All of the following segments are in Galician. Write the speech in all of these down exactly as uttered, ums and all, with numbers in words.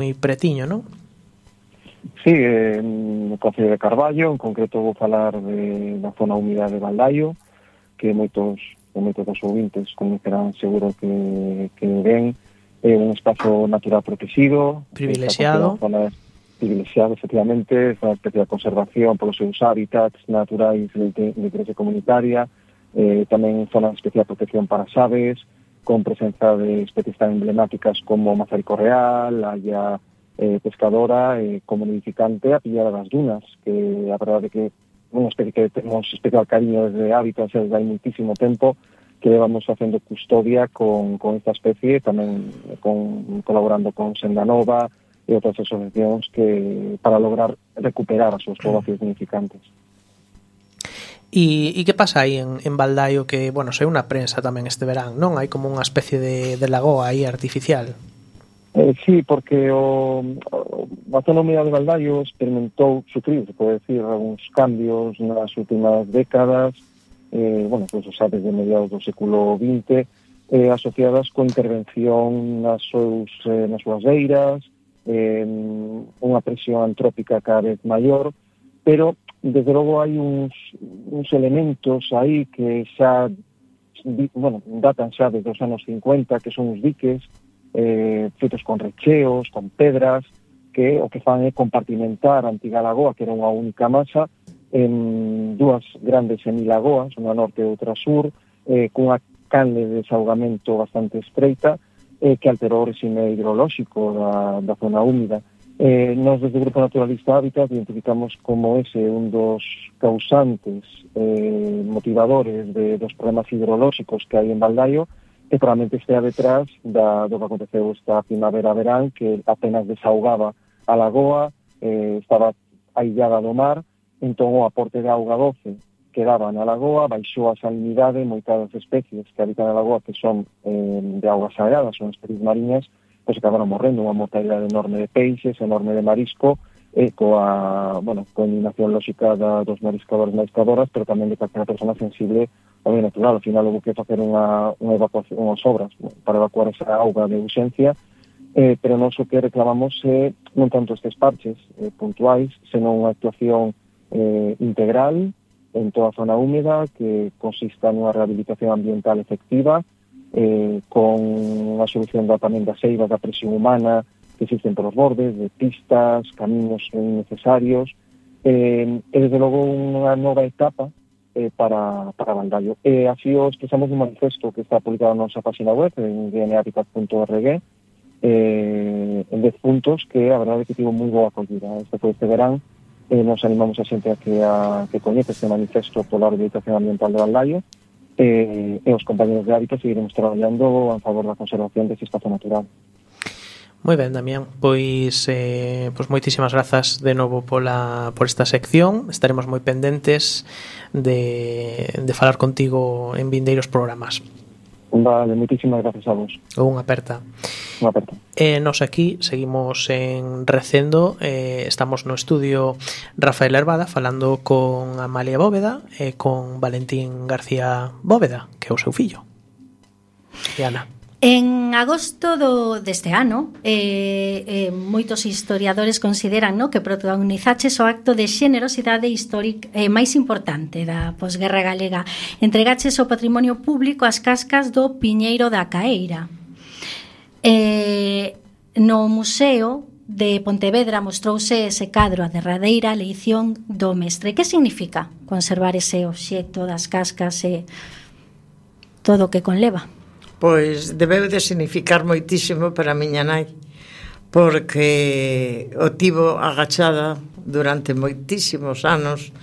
moi pretiño, non? Sí, eh, no Concello de Carballo, en concreto vou falar de, da zona húmida de Baldaio, que moitos, moitos dos ouvintes conocerán seguro que, que ven, é un espazo natural protegido, privilexiado, zonas privilexiado, efectivamente, é unha especie de conservación polos seus hábitats naturais de, de interese comunitaria, eh, tamén zona de especial protección para as aves, con presenza de especies tan emblemáticas como mazarico real, haya eh, pescadora, eh, como nidificante a pillada das dunas, que a verdade que unha especie que temos especial cariño desde hábitats desde hai muitísimo tempo, que levamos facendo custodia con, con esta especie, tamén con, colaborando con Senda Nova e outras asociacións que para lograr recuperar as súas poboacións nidificantes. E, e que pasa aí en, en Baldaio que, bueno, sei unha prensa tamén este verán, non? Hai como unha especie de, de lagoa aí artificial. Eh, sí, porque o, o, a zona húmida de Baldaio experimentou, sufrir, se pode decir, algúns cambios nas últimas décadas, eh, bueno, pues, sabes, de mediados do século vinte, eh, asociadas coa intervención nas, seus, eh, nas súas beiras, eh, unha presión antrópica cada vez maior, pero, desde logo, hai uns, uns elementos aí que xa, bueno, datan xa desde os anos cincuenta, que son os diques, eh, feitos con recheos, con pedras, que o que fan é compartimentar a antiga lagoa, que era unha única masa, en dúas grandes semilagoas, unha norte e outra sur, eh, cunha canle de desaugamento bastante estreita, eh, que alterou o regime hidrolóxico da, da zona húmida. Eh, nos, desde o Grupo Naturalista Hábitat, identificamos como ese un dos causantes eh, motivadores de, dos problemas hidrolóxicos que hai en Baldaio, que probablemente estea detrás da, do que aconteceu esta primavera-verán, que apenas desaugaba a lagoa, eh, estaba aillada do mar, entón o aporte de auga doce que daba na lagoa baixou a salinidade, moitas especies que habitan na lagoa que son eh, de augas sagradas, son especies mariñas, pois acabaron morrendo, unha mortalidade enorme de peixes, enorme de marisco, e coa, bueno, coa eliminación lóxica da, dos mariscadores e mariscadoras, pero tamén de calquera persona sensible ao medio natural. Ao final houve que facer unha, unha evacuación, unhas obras para evacuar esa auga de urxencia, eh, pero non o que reclamamos é non tanto estes parches eh, puntuais, senón unha actuación eh, integral en toda a zona húmeda que consista nunha rehabilitación ambiental efectiva, eh, con unha solución da, tamén das eivas da presión humana que existen polos bordes, de pistas, camiños innecesarios, eh, e desde logo unha nova etapa eh, para, para Baldaio. E así o expresamos un manifesto que está publicado na nosa página web, en d n habitat punto org, eh, en dez puntos que a verdade é que tivo moi boa acollida. Este foi este verán, eh, nos animamos a xente a que, a, que coñece este manifesto pola rehabilitación ambiental de Baldaio, eh, e os compañeros de Hábitat seguiremos traballando a favor da conservación deste espazo natural. Moi ben, Damián, pois, eh, pois moitísimas grazas de novo pola, por esta sección. Estaremos moi pendentes de, de falar contigo en vindeiros programas. Vale, moitísimas grazas a vos. Unha aperta. Unha aperta. E nos aquí seguimos en Recendo, eh, estamos no estudio Rafael Herbada falando con Amalia Bóveda e con Valentín García Bóveda, que é o seu fillo. E Ana. En agosto do, deste ano, eh, eh, moitos historiadores consideran, no, que protagonizaches o acto de xenerosidade histórica eh, máis importante da posguerra galega. Entregaches ao patrimonio público as cascas do Piñeiro da Caeira. Eh, no Museo de Pontevedra mostrouse ese cadro, a derradeira leición do mestre. Que significa conservar ese obxecto das cascas e todo o que conleva? Pois debeu de significar moitísimo para a miña nai, porque o tivo agachada durante moitísimos anos,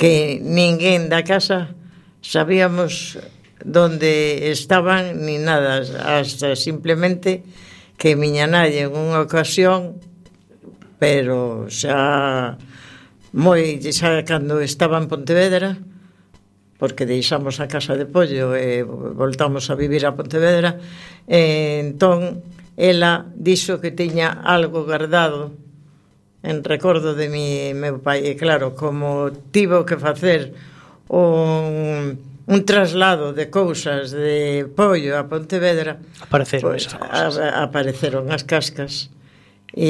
que ninguén da casa sabíamos donde estaban ni nada, hasta simplemente que miña nai en unha ocasión, pero xa moi xa cando estaba en Pontevedra, porque deixamos a casa de Pollo e voltamos a vivir a Pontevedra, e entón ela dixo que tiña algo guardado en recordo de mi, meu pai, e claro, como tivo que facer un, un traslado de cousas de Pollo a Pontevedra, apareceron, pues, esas cousas. A, apareceron as cascas, e